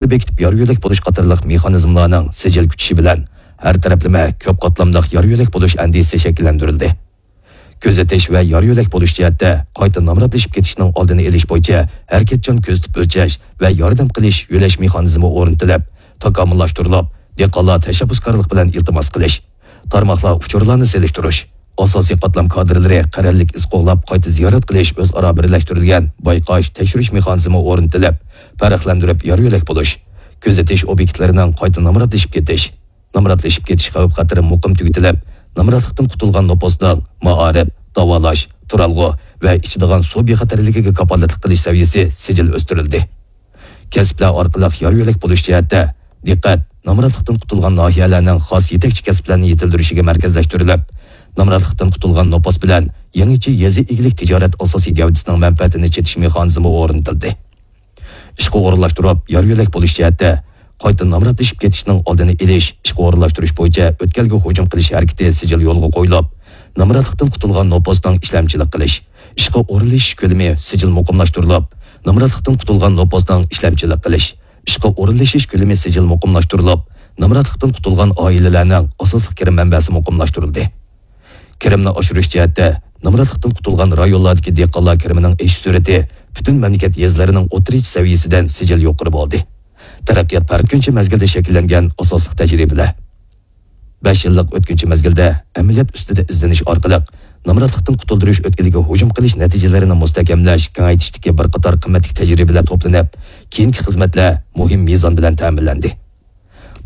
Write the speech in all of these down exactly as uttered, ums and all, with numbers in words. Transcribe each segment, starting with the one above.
بېكىتىپ يار يۆلەك بولۇش قاتارلىق مېخانىزملارنىڭ سىجىل كۈچىشى بىلەن ھەر تەرەپلىمە كۆپ قاتلاملىق يار يۆلەك بولۇش ئەندىزىسى شەكىللەندۈرۈلدى. كۆزىتىش ۋە يار يۆلەك بولۇش جەھەتتە قايتا نامراتلىشىپ كېتىشنىڭ ئالدىنى ئېلىش بويىچە ھەرىكەتچان كۆزىتىپ ئۆلچەش ۋە ياردەم قىلىش يۆلەش مېخانىزمى ئورنىتىلىپ، تاكامۇللاشتۇرۇلۇپ، دېھقانلار تەشەببۇسكارلىق بىلەن ئىلتىماس قىلىش، تارماقلار ئۇچۇرلارنى سېلىشتۇرۇش، ئاساسىي قاتلام كادىرلىرى قەرەللىك ئىز قوغلاپ قايتا زىيارەت قىلىش ئۆزئارا بىرلەشتۈرۈلگەن بايقاش، تەكشۈرۈش مېخانىزمى ئورنىتىلىپ، پەرقلەندۈرۈپ يار يۆلەك بولۇش، كۆزىتىش ئوبيېكتلىرىنىڭ قايتا نامراتلىشىپ كېتىش، نامراتلىشىپ كېتىش خەۋپ خەتىرى مۇقىم تۈگىتىلىپ، نامراتلىقتىن قۇتۇلغان نوپۇسنىڭ مائارىپ، داۋالاش، تۇرالغۇ ۋە ئىچىدىغان سۇ بىخەتەرلىكىگە كاپالەتلىك قىلىش سەۋىيەسى سىجىل ئۆستۈرۈلدى. كەسىپلەر ئارقىلىق يار يۆلەك بولۇش جەھەتتە دىققەت نامراتلىقتىن قۇتۇلغان ناھىيەلەرنىڭ خاس يېتەكچى كەسىپلەرنى يېتىلدۈرۈشىگە مەركەزلەشتۈرۈلۈپ، نامراتلىقتىن قۇتۇلغان نوپۇس بىلەن يېڭىچە يېزا ئىگىلىك تىجارەت ئاساسىي گەۋدىسىنىڭ مەنپەئەتىنى چېتىش مېخانىزمى ئورنىتىلدى. ئىشقا ئورۇنلاشتۇرۇپ يار يۆلەك بولۇش جەھەتتە قايتا نامراتلىشىپ كېتىشنىڭ ئالدىنى ئېلىش، ئىشقا ئورۇنلاشتۇرۇش بويىچە ئۆتكەلگە ھۇجۇم قىلىش ھەرىكىتى سىجىل يولغا قويۇلۇپ، نامراتلىقتىن قۇتۇلغان نوپۇسنىڭ ئىشلەمچىلىك قىلىش، ئىشقا ئورۇنلىشىش كۆلىمى سىجىل مۇقىملاشتۇرۇلۇپ، نامراتلىقتىن قۇتۇلغان نوپۇسنىڭ ئىشلەمچىلىك قىلىش، ئىشقا ئورۇنلىشىش كۆلىمى سىجىل مۇقىملاشتۇرۇلۇپ، نامراتلىقتىن قۇتۇلغان ئائىلىلەرنىڭ ئاساسلىق كىرىم مەنبەسى مۇقىملاشتۇرۇلدى. كىرىمنى ئاشۇرۇش جەھەتتە نامراتلىقتىن قۇتۇلغان رايونلاردىكى دېھقانلار كىرىمىنىڭ ئېشىش سۈرئىتى پۈتۈن مەملىكەت يېزىلىرىنىڭ ئوتتۇرىچە سەۋىيەسىدىن سىجىل يۇقىرى بولدى. تەرەققىيات پەرقىنچە مەزگىلدە شەكىللەنگەن ئاساسلىق تەجرىبىلەر. بەش يىللىق ئۆتكۈنچى مەزگىلدە ئەمەلىيەت ئۈستىدە ئىزدىنىش ئارقىلىق نامراتلىقتىن قۇتۇلدۇرۇش ئۆتكىلىگە ھۇجۇم قىلىش نەتىجىلىرىنى مۇستەھكەملەش، كېڭەيتىشتىكى بىر قاتار قىممەتلىك تەجرىبىلەر توپلىنىپ، كېيىنكى خىزمەتلەر مۇھىم مىزان بىلەن تەمىنلەندى.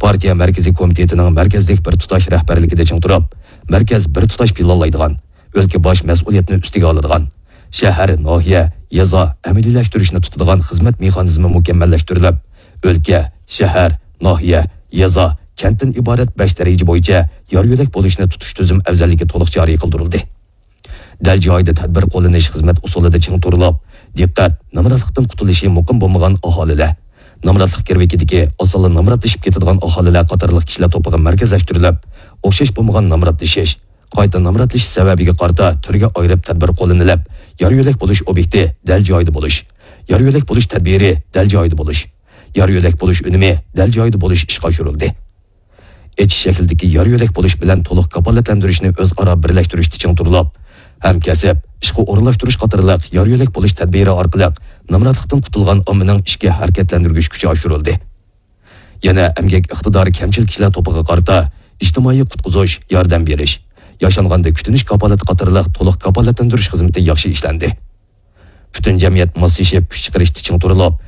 پارتىيە مەركىزىي كومىتېتىنىڭ مەركەزلىك بىر تۇتاش رەھبەرلىكىدە چىڭ تۇرۇپ، مەركەز بىر تۇتاش پىلانلايدىغان، ئۆلكە باش مەسئۇلىيەتنى ئۈستىگە ئالىدىغان، شەھەر، ناھىيە، يېزا ئەمەلىيلەشتۈرۈشنى تۇتىدىغان خىزمەت مېخانىزمى مۇكەممەللەشتۈرۈلۈپ، ئۆلكە، شەھەر، ناھىيە، يېزا، كەنتتىن ئىبارەت بەش دەرىجە بويىچە يار يۆلەك بولۇشنى تۇتۇش تۈزۈم ئەۋزەللىكى تولۇق جارى قىلدۇرۇلدى. دەل جايىدا تەدبىر قوللىنىش خىزمەت ئۇسۇلىدا چىڭ تۇرۇلۇپ، دىققەت نامراتلىقتىن قۇتۇلۇشى مۇقىم بولمىغان ئاھالىلەر، نامراتلىق گىرۋىكىدىكى ئاسانلا نامراتلىشىپ كېتىدىغان ئاھالىلەر قاتارلىق كىشىلەر توپىغا مەركەزلەشتۈرۈلۈپ، ئوخشاش بولمىغان نامراتلىشىش، قايتا نامراتلىشىش سەۋەبىگە قارىتا تۈرگە ئايرىپ تەدبىر قوللىنىلىپ، يار يۆلەك بولۇش ئوبيېكتى دەل جايىدا بولۇش، يار يۆلەك بولۇش تەدبىرى دەل جايىدا بولۇش، يار يۆلەك بولۇش ئۈنۈمى دەل جايىدا بولۇش ئىشقا ئاشۇرۇلدى. ئېچىش شەكلىدىكى يار يۆلەك بولۇش بىلەن تولۇق كاپالەتلەندۈرۈشنى ئۆزئارا بىرلەشتۈرۈشتە چىڭ تۇرۇلۇپ، ھەمكەسىپ، ئىشقا ئورۇنلاشتۇرۇش قاتارلىق يار يۆلەك بولۇش تەدبىرى ئارقىلىق نامراتلىقتىن قۇتۇلغان ئاممىنىڭ ئىچكى ھەرىكەتلەندۈرگۈچ كۈچى ئاشۇرۇلدى. يەنە ئەمگەك ئىقتىدارى كەمچىل كىشىلەر توپىغا قارىتا ئىجتىمائىي قۇتقۇزۇش، ياردەم بېرىش، ياشانغاندا كۈتۈنۈش كاپالىتى قاتارلىق تولۇق كاپالەتلەندۈرۈش خىزمىتى ياخشى ئىشلەندى. پۈتۈن جەمئىيەت ماسلىشىپ كۈچ چىقىرىشتا چىڭ تۇرۇلۇپ،